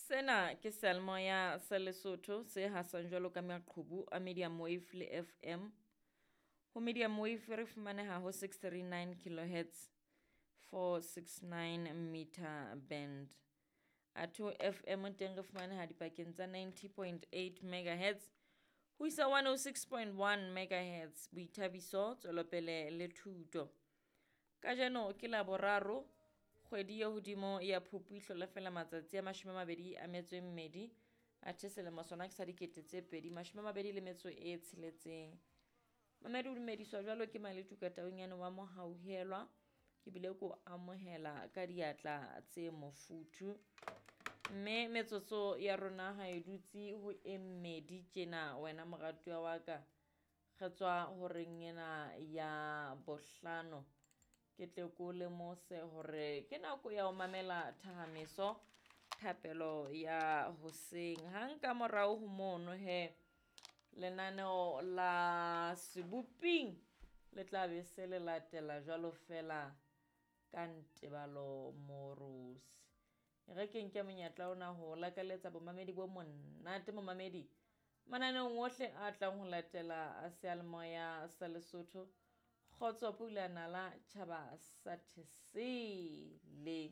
Sena ke seyalemoya sa Lesotho se hasang jwalo ka maqhubu a medium wave le FM. Ho medium wave re fumaneha ho 639 kilohertz 469 meter band. Athe ho FM teng re fumaneha dipakeng tsa 90.8 megahertz ho isa 106.1 megahertz. Boithabiso, tswelopele le thuto. Kajeno ke Laboraro, kgwedi e hodimo ya Phupu e hlola feela matsatsi a 22, athe selemo sona ke sa 2026. Mamedi o dumediswa jwalo ke Maletuka Taunyane wa Mohauhelwa, ke bile ko amohela ka diatla tse mofuthu. Mme metsotso ya rona ha e dutse ho e mmedi tjena wena moratuwa wa ka. Re tswa horeng ena ya bohlano. Ke tle ko lemose hore ke nako ya ho mamela thahameso thapelo ya hoseng. Hang ka morao ho mono he, lenaneo la seboping le tla be se le latela jwalo feela ka Ntebalo Moorosi. E re ke nke monyetla ona ho lakaletsa bomamedi bo monate momamedi mananeong ohle a tlang ho latela a seyalemoya sa Lesotho. Kgotso pula nala tjhaba sa Thesele.